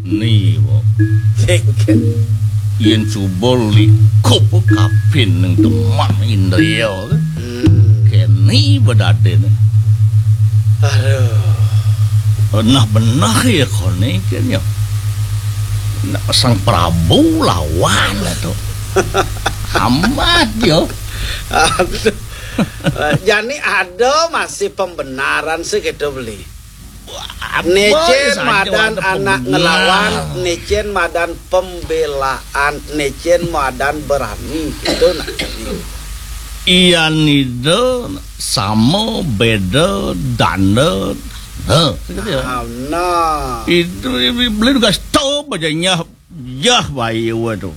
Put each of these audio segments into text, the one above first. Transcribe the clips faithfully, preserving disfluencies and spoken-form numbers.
Ni, Bo. Sing ken. Yén cuba likup kapin ning teman Indria. Hmm. Keni bedadene. Aduh. Nah, benah ya kone ken ya. Nah, Sang Prabu lawan to. Amat ya. Aduh. Eh, jani ada masih pembenaran sih gitu beli. Apa Nicén ya saja madan ada anak pembenaran. Ngelawan, nicén madan pembelaan, nicén madan berani. Itu nak. Iya nida sama beda danda. Heh, gitu ya. Nah, nah. Itu beli juga stop aja nyah, yah bayi wa tu.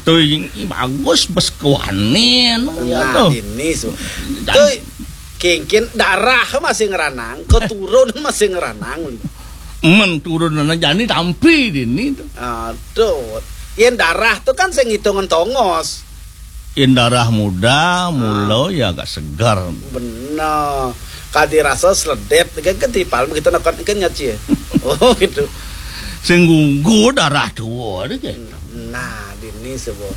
Tuh, ini bagus bes kewanin ya. Nah, tuh. Ini su. Dan tuh, kengken darah masih ngeranang, keturun masih ngeranang. Men turun anak jani tampi dini tuh. Aduh, yen darah tuh kan sing ngitungan tongos. Yen darah muda, mula ya agak segar. Bener. Kadi rasa seledet, kan, kan tipal begitu nak kan nyat ya. Oh, gitu. Sing gugu darah tua deh, kan. Nah, dini sebut.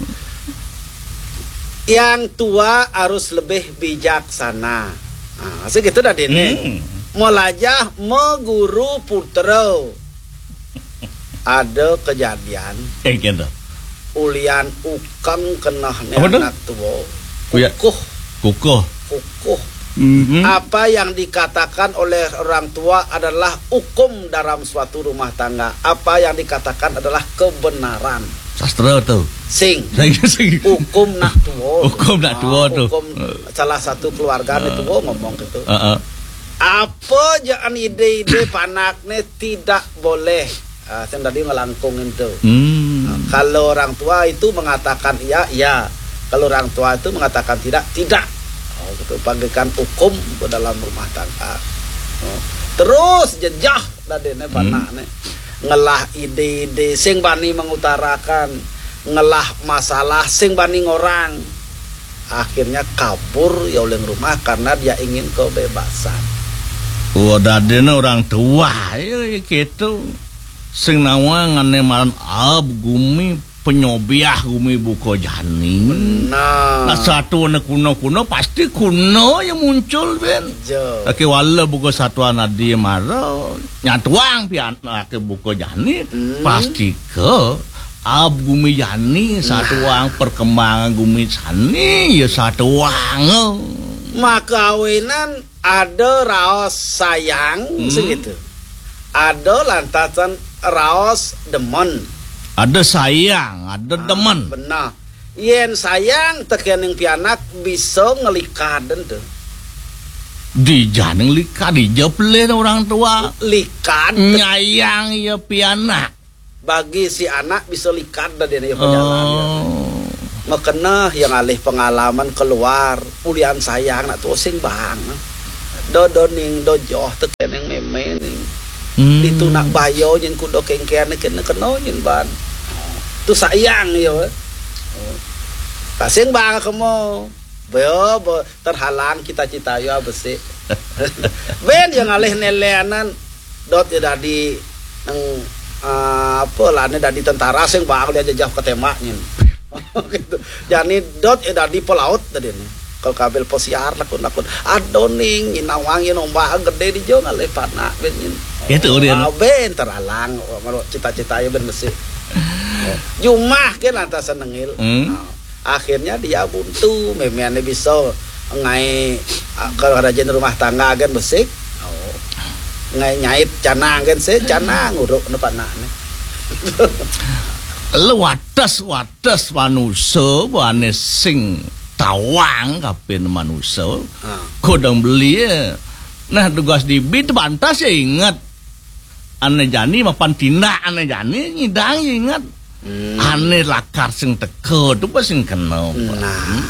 Yang tua harus lebih bijaksana. Nah, segitu dah dini. Hmm. Melajah meguru putra. Ada kejadian. Eh, gitu. Ulian ukeng kenah ni. Apa tu? Anak tua. Kuya. Kukuh. Kukuh. Kukuh. Mhm. Apa yang dikatakan oleh orang tua adalah hukum dalam suatu rumah tangga. Apa yang dikatakan adalah kebenaran. Sastra tu. Sing. Sing, sing. Hukum nak tua. Hukum nak tua tu. Ah, hukum salah satu keluarga ni tua ngomong gitu. Heeh. Apa jaan ide-ide panak ni tidak boleh. Ah, sing tadi ngelangkung itu. Hmm. Ah, kalau orang tua itu mengatakan iya, iya. Kalau orang tua itu mengatakan tidak, tidak. Oh, gitu. Bagaikan hukum ke dalam rumah tangga. Oh. Terus jejah tadi ni panak ni. Ngelah ide-ide, sing bani mengutarakan, ngelah masalah, sing bani ngorang. Akhirnya kabur ya oleh rumah karena dia ingin kebebasan. Wah, dadene orang tua ya, ya gitu. Sing nawang ane maran ab gumi penyobiah gumi buka jani. Benar. Nah, satu ane kuno-kuno pasti kuno yang muncul, Ben. Jo. Oke, wala buka satuan adi mara nyatuang pian ake buka jani, hmm, pasti ke ab gumi jani satuang perkembangan gumi jani ya satuang. Maka awinan ada raos sayang, hmm, segitu. Ada lantasan raos demen. Ada sayang, ada demen. Ah, benar. Yen sayang tekening pianak bisa ngelikaden tuh. Dijaning likad, dija pelih orang tua. Likad. Nyayang ya pianak. Bagi si anak bisa likad dah dia ya perjalanan. Oh. Makena yang alih pengalaman keluar, ulian sayang nak tuh sing bang. Do do ning do joh tekening meme ning. Hmm. Ditu nak bayo nyen kudo kengken kena kena nyen ban. Tu sayang yo. Kasing bang kemo. Bo, bo, terhalang cita-cita yo besik. Ben yang alih nelenan dot ya dadi nang, ah, apa lah ni dadi tentara sing bakal dia jejah ketembak nyin. Gitu. Jani dot ya dadi pelaut tadi ni. Kalau kabil posiar lakun-lakun. Adoning, inawang, inombak gede di jo ngalih panak ben nyin. Gitu dia. Ah, ben terhalang, cita-cita ya ben besik. Jumah ke lantas senengil. Hmm. Ah. Akhirnya dia buntu, memeane bisa ngai, ah, kalau rajin rumah tangga kan besik. Oh. Ngai nyait canang kan se canang uruk ne panakne. Lu wates, wates manusa bane sing tawang kapin manusa. Ha. Kodang belie. Nah, tugas dibi tebantas ya inget. Ane jani mapan tindak ane jani nyidang ingat. Hmm. Ane lakar sing teka tu pa sing kena. Nah. Hmm.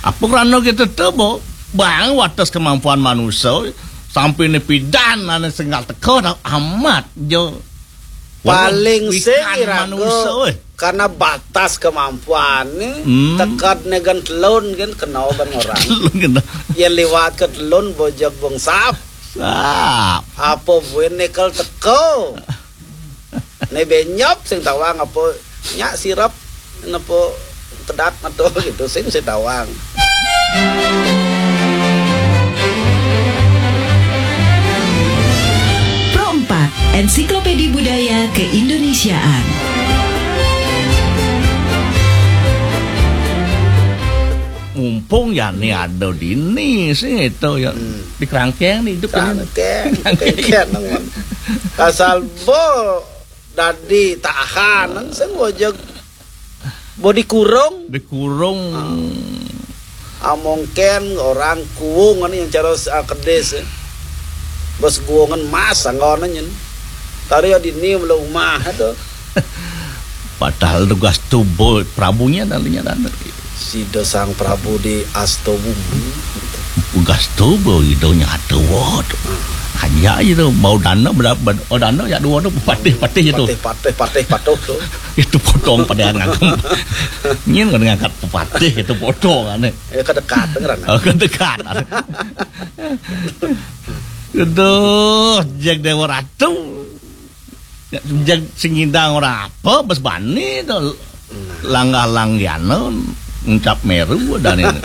Apa krana kita tu bo bang wates kemampuan manusia sampai ne pidan ane singgal teka dah amat jo. Paling sing iraga manusia, eh, karena batas kemampuan ni, hmm, tekad ne gan telun gan kena ban orang. Telun kena. Ya liwat ke telun bojog bongsap. Sap. Apa buin nekel teko? Ne benyop sing tawang apa nyak sirep napa tedak atau gitu sing sing tawang. Pro empat, Ensiklopedi Budaya Keindonesiaan. Mumpung ya ni ada dini sih itu ya. Hmm. Di kerangkeng ni hidup ni. Kerangkeng, kerangkeng nang. Asal bo dadi tahanan sing wajah bo dikurung. Dikurung. Ah. Amongken orang kuung ni yang cara, ah, kedis, eh. Bos guungan mas angganan nyen. Tari ya dini mula umah tu. Padahal tugas tubuh Prabunya dan linya dan. Sida Sang Prabu di Asta Bumi. Tugas tubuh idonya ada wot. Hanya itu mau dana berapa, oh, dana ya dua tu patih-patih itu. Patih, patih, patih, patuh tu. Itu potong pada ngangkat. Nyin kan ngangkat patih itu potong ane. Ya kedekat ngeran. Oh, kedekat. Aduh, jeg Dewa Ratu. Jeg sing ngidang ora apa, bes bani to. Langgah langgana ngucap meru dan ini.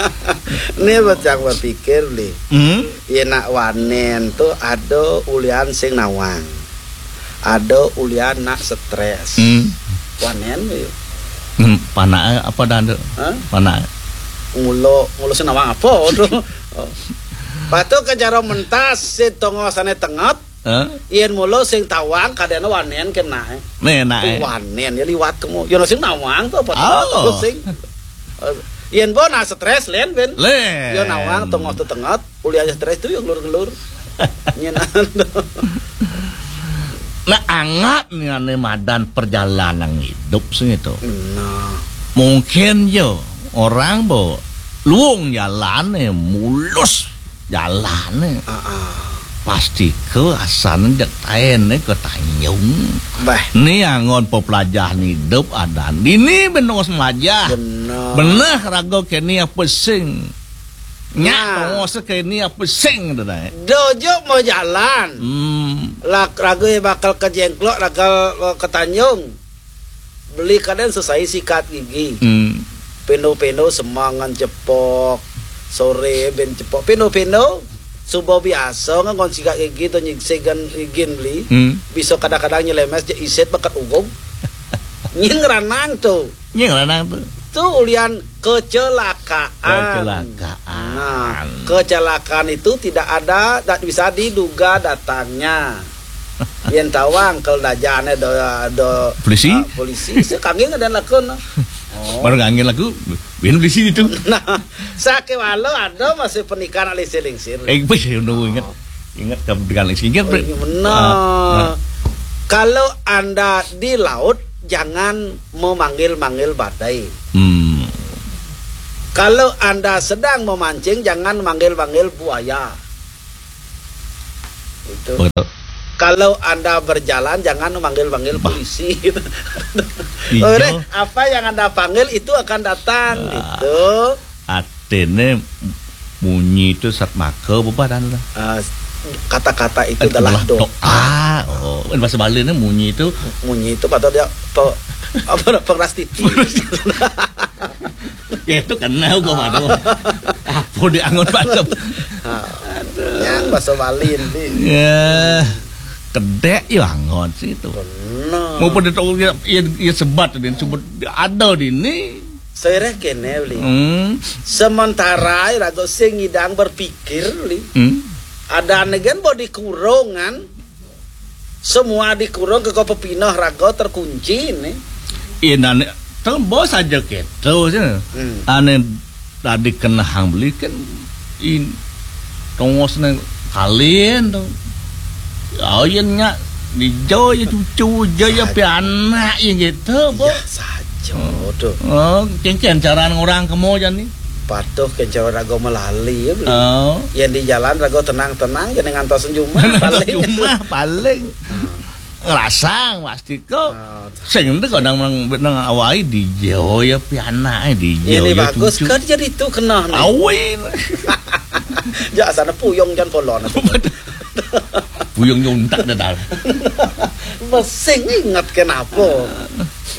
Ni bocah berpikir li. Hmm? Yen nak wanen tu ada ulian sing nawang. Ada ulian nak stres. Hmm. Wanen yo. Hmm, panake apa dah, Nduk? Hah? Panake. Ngulo, ngulo sing nawang apa tu? Oh. Patu ke cara mentas si tongosane tenget. Hah? Yen mula sing tawang kadene wanen kena. Nek, nek. Wanen ya liwat kemu. Ya sing nawang tu apa? Oh. Sing. Eh, yen bo nak stres len ben. Len. Ya nawang tongos tu tenget. Kuliah stres tu ya ngelur-ngelur. Nyen. Nah, angat ni ane madan perjalanan hidup sing itu. Nah. Mungkin yo orang bo luung jalane, mulus jalane. Ah, ah. Pasti ke asane dek taene ke Tanjung. Bah. Ni angon pepelajahan hidup adan. Dini benos melajah. Benar. Benar raga keni apa sing. Nyak nah. Tongos keni apa sing tu dai. Dojo mau jalan. Hmm. Lak raga bakal ke Jengklok, raga, eh, ke Tanjung. Beli kadang selesai sikat gigi. Hmm. Peno-peno semangan cepok. Sore ben cepok. Peno-peno subuh biasa ngan sikat gigi tu nyiksegan gigi beli. Hmm. Bisa kadang-kadang nyelemes je isit bakat ugong. Nyin ngeranang tu. Nyin ngeranang tu. Tu ulian kecelakaan. Kecelakaan. Nah, kecelakaan itu tidak ada, tak bisa diduga datangnya. Yen tawang kalau dajane do, do polisi? Ah, polisi. Sekangge ngedan lakon. Oh. Baru ngangge lagu, bin polisi itu. Nah, sake walau ada masih pernikahan alih selingsir. Eh, wis, ngono ingat. Ingat kamu dengan singkir. Oh, iya benar. Ah, ah. Kalau Anda di laut, jangan memanggil-manggil badai. Hmm. Kalau Anda sedang memancing, jangan manggil-manggil buaya. Itu. Betul. Kalau Anda berjalan, jangan manggil-manggil polisi. Iya. Apa yang Anda panggil itu akan datang, ah, gitu. At- Dene munyi itu sat maka bebadan lah. Ah, kata-kata itu adalah doa. Doa. Oh, bahasa Bali ni munyi itu. Munyi itu patut dia pe, apa, pengeras titi. Ya itu kenal gua mah. Apa dia angon pada. Ha. Yang bahasa Bali ni. Ya. Kedek ya angon situ. Benar. Mau pada tahu ya, ya, ya sebat dia sebut ada di ni. Soireh kene beli. Hmm. Sementara raga sing ngidang berpikir beli. Hmm. Ada anegan bo dikurungan. Semua dikurung ke kau pepinah raga terkunci ni. Inane tembo saja keto je. Hmm. Ane tadi kena hang beli kan in tongos ne kalin tu. Ayen nya di jo ya cucu jo ya pianak ya gitu bo. Ya saja tu. Oh, kengken cara orang kemo jan ni. Patuh ke cara raga melali ya. Oh. Yang di jalan raga tenang-tenang je ngantos jumah paling. Jumah paling. Hmm. Ngerasang pasti ko. Oh. Sing ente kadang nang nang awai di jo ya pianak di jo. Ini ya bagus cucu. Kan jadi tu kena ni. Awin. Ya sana puyung jan polon. Buyung nyuntak dah dah. Masih ingat kenapa?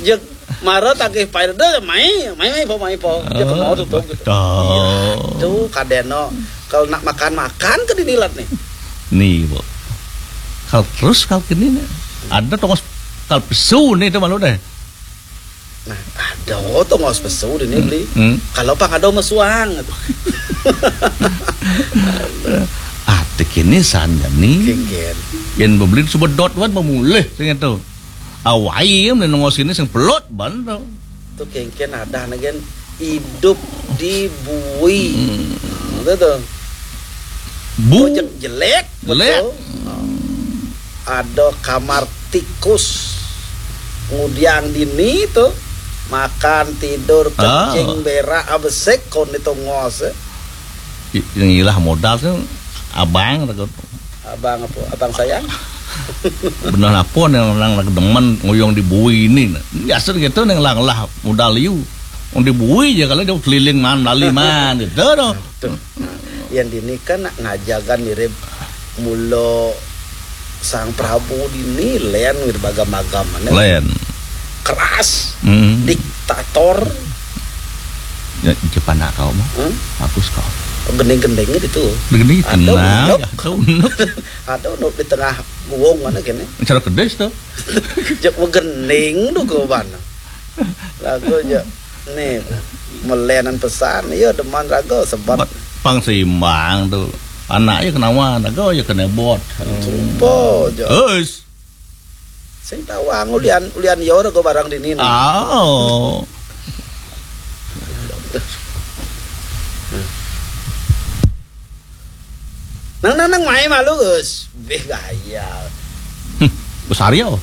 Ya, mara tagih paida, mai, mai, mai, po, mai, po. Ya, kemau tutup gitu. Iya, tuh, kadeno. Kalau nak makan-makan ke dinilat nih. Nih, Bu. Kalau terus kalau kini nih, ada tongos kalau pesu nih itu malu deh. Nah, ada tongos pesu di ini beli. Hmm. Kalau pang ada mesuang. Ati kini sanja nih. Kengken. Yen bebeli sebedot wan pemulih sing itu. Awai meni nongos ini sing pelot ban to. Tuh kengken ada negen hidup di bui. Hmm. Nah, itu tuh. Bu. Oh, je-, jelek, jelek. Betul. Ada kamar tikus. Ngudiang dini tuh. Makan, tidur, kencing, berak, abesek, kon itu ngos, eh. I-, yang ilah modal tuh abang, takut. Abang apa? Abang sayang? Benar apa nih orang lagi demen nguyung di bui ini, nah. Biasa gitu nih, ngelah-ngelah modal liu. Wong di bui aja kalau dia keliling man, lali man, gitu tuh. Tuh. Nah, yang dini kan nak ngajagan mirip mula Sang Prabu dini, len mirip agam-agam, mana? Len. Keras, hmm, diktator. Ya, Jepang nak kau mah. Hmm? Bagus kau. Gending-gendingnya itu. Gending ada tenang, unuk. Ya, ada unuk. Ada unuk di tengah guwong mana kene. Cara kedes tuh. Jek gending tuh ke mana. Lagu aja. Nih, melenan pesan, iya deman raga sebab pang seimbang tuh. Anaknya kenawan, raga ya kena bot. Sumpah aja. Us. Sing tawang ulian, ulian yo raga barang dini nih. Oh. Nang, nang, nang, mai malu, Gus. Beh, gaya. Hmm, Gus Aryo.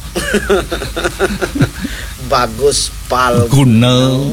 Bagus Pal Guno.